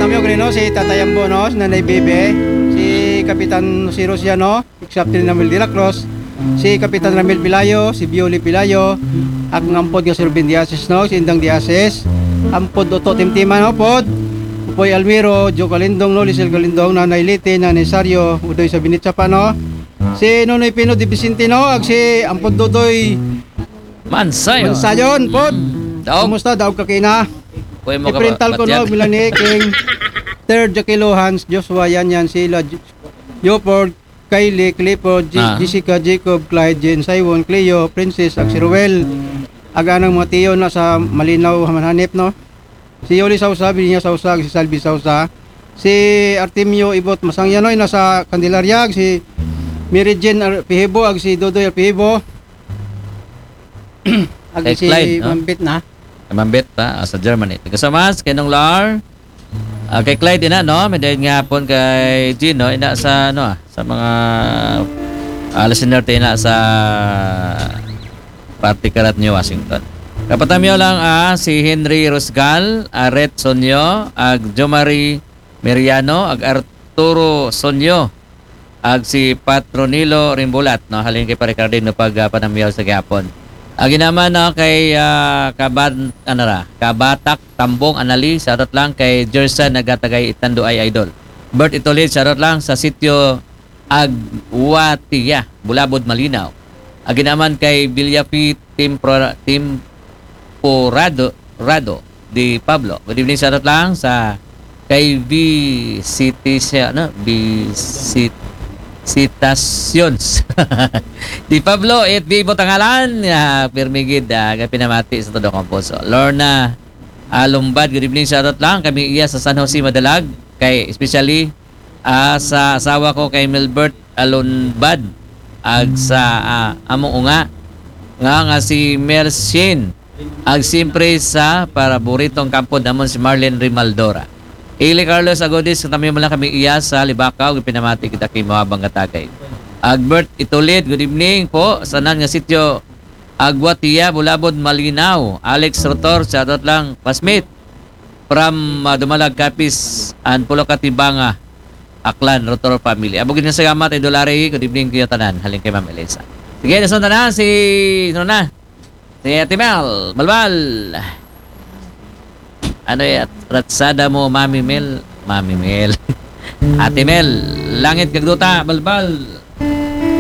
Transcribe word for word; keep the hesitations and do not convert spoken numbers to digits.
Miyog rin, no, si Tatay Ambo, no, si Nanay Bebe, si Kapitan Jose Rosiano, Captain Ramil de la Cruz, si Kapitan Ramil Pilayo, si Bioli Pilayo, akong ampod nga si Ruben Diasis, no, si Indang Diasis, ampod Oto Timtima, no, pod, Upoy Almiro, Joe Kalindong, no, Lisel Kalindong, Nanay Liti, Nanay Sario, Udoy sa Binit Sapa, no, si Nonoy Pino de Vicentino, ag si ampod Dodoy Mansayon. Mansayon, pod. Mm. Daog. Kumusta? Daog ka kina. Kuya mo ka Iprintal ko, no, matyan. Milani, King, Third, Jaquilo, Hans, Joshua, Yan Yan, Sheila, J- Jopord, Kylie, Clifford, J- Ah. Jessica, Jacob, Clyde, Jane, Simon, Cleo, Princess, ag si Ruel. Ag anang mga tiyo na sa Malinaw, Hamanhanip, no? Si Yoli Sausa, Virginia Sausa, ag si Salvi Sausa. Si Artemio Ibot Masangyanoy na sa Candelaria, ag si Mary Jane Ar- Pihibo, ag si Dodoy Pihibo. Ag Kay si Clyde, no? Mambit na. Mambit pa, ah, sa Germany. Taga Samas, kay Nong Lar. Ah, kay Clyde na, no? May dahil nga hapon kay Gino, ina sa, ano, ah, sa mga ah, listener tayo na sa Party Karat New Washington. Kapatamiyo lang, ah, si Henry Rosgal, Aret Sonyo, ag Jomari Meriano, ag Arturo Sonyo, ag si Patronilo Rimbulat, no, halin kay Pare Carding, no, pag ah, panamiyaw sa gihapon. Agi naman, no, kay ah, Kaban, ano ra, Kabatak Tambong Anali, shoutout lang kay Jerson Nagatagay Itando ay Idol. Bert Itolid, shoutout lang sa sitio Agwatia, Bulabod, Malinaw. Agi naman kay Villapi Timpro, Timporado, Rado, di Pablo. Good evening, shoutout lang sa kay V City siya, no? V Cit- Citations. Di Pablo, it V Botangalan, ah, pirmigid, ah, pinamati sa todo kong puso. Lorna Alumbad, good evening, shoutout lang. Kami iya sa San Jose Madalag, kay especially ah, sa asawa ko kay Milbert Alumbad, ag sa ah, among unga, nga, nga si Mel Shane, ag siyempre sa paraboritong kampo namon si Marlene Rimaldora. Ili Carlos Agodis, katabi mo lang kami iya sa Libakaw, ipinamati kita kay Mawabang Katagay. Agbert Itulid, good evening po. Sanan nga sityo, Agwatia, Bulabod, Malinaw. Alex Rotor, shoutout lang, classmate. From ah, Dumalag, Capiz, and Pulocatibanga, Aklan, Rotor family. Abugin nga salamat, Idol Larry. Good evening kayo tanan. Halin kay Ma'am Elisa. Sige, nasunod na si, ano na? Si Ate Mel, Balbal. Ano yan? Ratsada mo, Mami Mel. Mami Mel. Ate Mel, Langit Kagduta, Balbal.